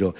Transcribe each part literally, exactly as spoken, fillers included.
Ribeiro,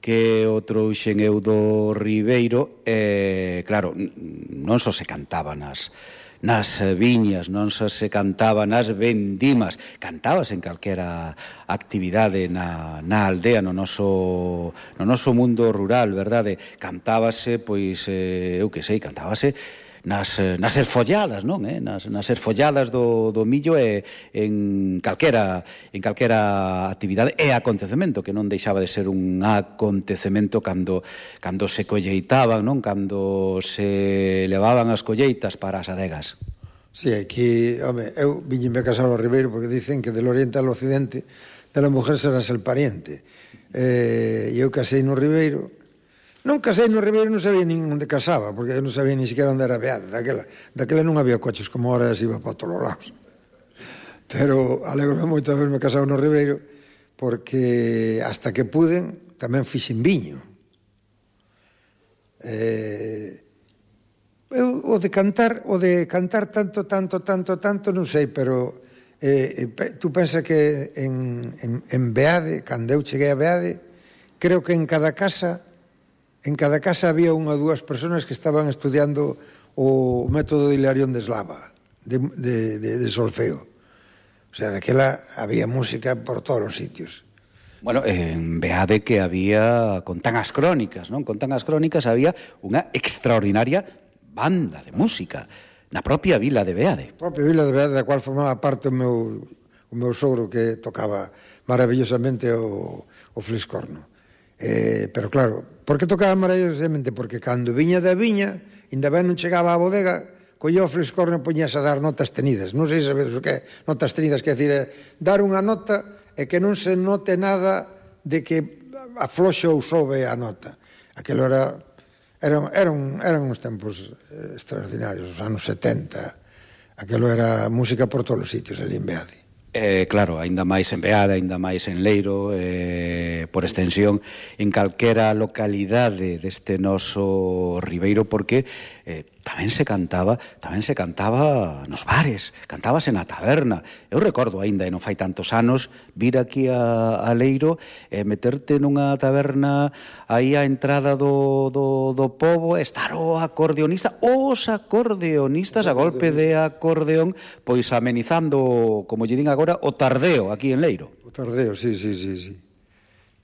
que o trouxen eu do Ribeiro, e, claro, non só se cantaba nas nas viñas, non só se cantaba nas vendimas, cantábase en calquera actividade na, na aldea, no noso, no noso mundo rural, verdade? Cantábase, pois, eh, eu que sei, cantábase nas, nas erfolladas, non? Eh? Nas, nas erfolladas do, do millo e en calquera, en calquera actividade e acontecemento, que non deixaba de ser un acontecemento cando, cando se colleitaban, non? Cando se levaban as colleitas para as adegas. Sí, aquí, home, eu viñeme a casar ao Ribeiro porque dicen que del oriente al occidente de la mujer serás el pariente. E eh, eu casei no Ribeiro. Non casei no Ribeiro, non sabía nin onde casaba, porque eu non sabía ni siquiera onde era Beade. Daquela, daquela non había coches como ahora se iba para todos os lados. Pero alegro moito de haberme casado no Ribeiro, porque hasta que puden tamén fixen viño. Eh, eu, o de cantar, o de cantar tanto, tanto, tanto, tanto, non sei, pero eh, tú pensa que en, en, en Beade, cando eu cheguei a Beade, creo que en cada casa en cada casa había unha ou dúas personas que estaban estudiando o método de Hilarión de Eslava, de, de, de, de solfeo. O sea, daquela había música por todos os sitios. Bueno, en Beade que había, contan as crónicas, non? Contan as crónicas, había unha extraordinaria banda de música na propia vila de Beade. A propia vila de Beade, da cual formaba parte o meu, o meu sogro que tocaba maravillosamente o, o fliscorno. Eh, pero claro, por que tocaba maravillosamente? Porque cando viña da viña, ainda ben non chegaba á bodega, collía o fliscorno e poñíase a dar notas tenidas. Non sei se sabedes o que é notas tenidas, que é dicir, dar unha nota e que non se note nada de que afloxe ou sobe a nota. Aquilo era, eran, eran, eran uns tempos extraordinarios, os anos setenta. Aquilo era música por todos os sitios, ali en Beade. Eh, claro, aínda máis en Beade, aínda máis en Leiro, eh, por extensión, en calquera localidade deste noso Ribeiro, porque eh, tamén se cantaba, tamén se cantaba nos bares, cantábase na taberna. Eu recordo aínda, e non fai tantos anos, vir aquí a, a Leiro e meterte nunha taberna aí á entrada do, do, do pobo, estar o acordeonista, os acordeonistas a golpe de acordeón, pois amenizando, como lle din agora, o tardeo aquí en Leiro. O tardeo, sí, sí, sí, sí.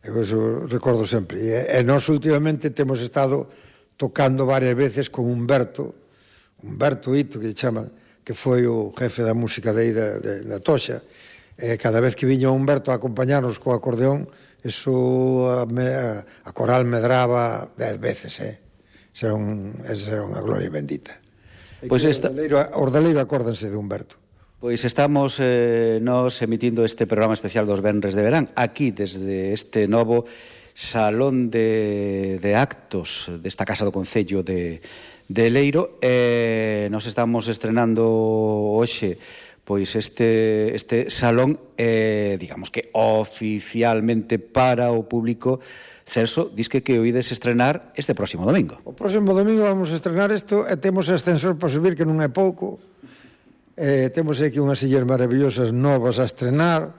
Eu eso recordo sempre. E, e nós últimamente temos estado tocando varias veces con Humberto, Humberto Ito, que chama, que foi o jefe da música de aí da, de, da Toxa. E cada vez que viña Humberto a acompañarnos co acordeón, eso a, a, a coral medraba dez veces, eh? Esa era, un, esa era unha gloria bendita. E pois esta... Os de Leiro acórdanse de Humberto. Pois estamos eh, nos emitindo este programa especial dos Venres de Verán, aquí desde este novo salón de, de actos desta Casa do Concello de, de Leiro. Eh, nos estamos estrenando hoxe pois este, este salón, eh, digamos que oficialmente para o público. Celso, disque que oídes estrenar este próximo domingo. O próximo domingo vamos a estrenar isto e temos ascensor para subir, que non é pouco. Eh, temos aquí unhas sillas maravillosas novas a estrenar,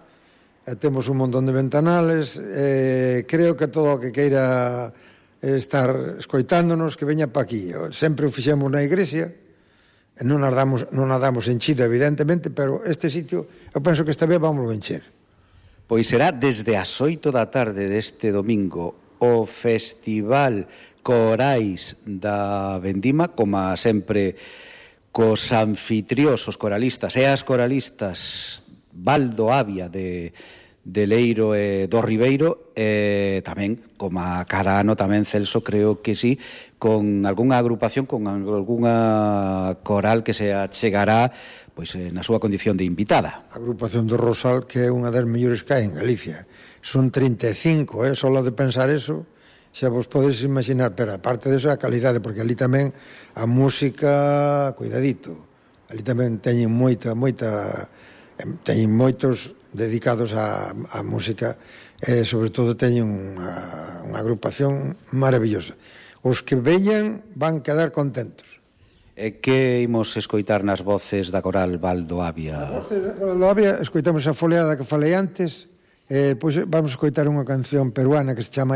e temos un montón de ventanales. Eh, creo que todo o que queira estar escoitándonos, que veña pa aquí. Sempre o fixemos na igrexa, e non nos damos, non nos damos enchida, evidentemente, pero este sitio, eu penso que esta vez vamos a encher. Pois será desde as oito da tarde deste domingo o Festival Corais da Vendima, como sempre cos anfitriós, os coralistas e as coralistas Baldo Avia de, de Leiro e do Ribeiro, e tamén, como a cada ano tamén, Celso, creo que sí, con algunha agrupación, con algunha coral que se achegará pois na súa condición de invitada. A agrupación do Rosal, que é unha das mellores que hai en Galicia. Son trinta e cinco, eh? Só de pensar eso, xa vos podes imaginar, pero aparte deso a calidade, porque ali tamén a música, cuidadito, ali tamén teñen moita, moita, teñen moitos dedicados á, á música, e sobre todo teñen unha, unha agrupación maravillosa. Os que veñan van quedar contentos. E que imos escoitar nas voces da coral Baldo Avia? Nas voces da coral Baldo Avia escoitamos a foleada que falei antes, e depois vamos escoitar unha canción peruana que se chama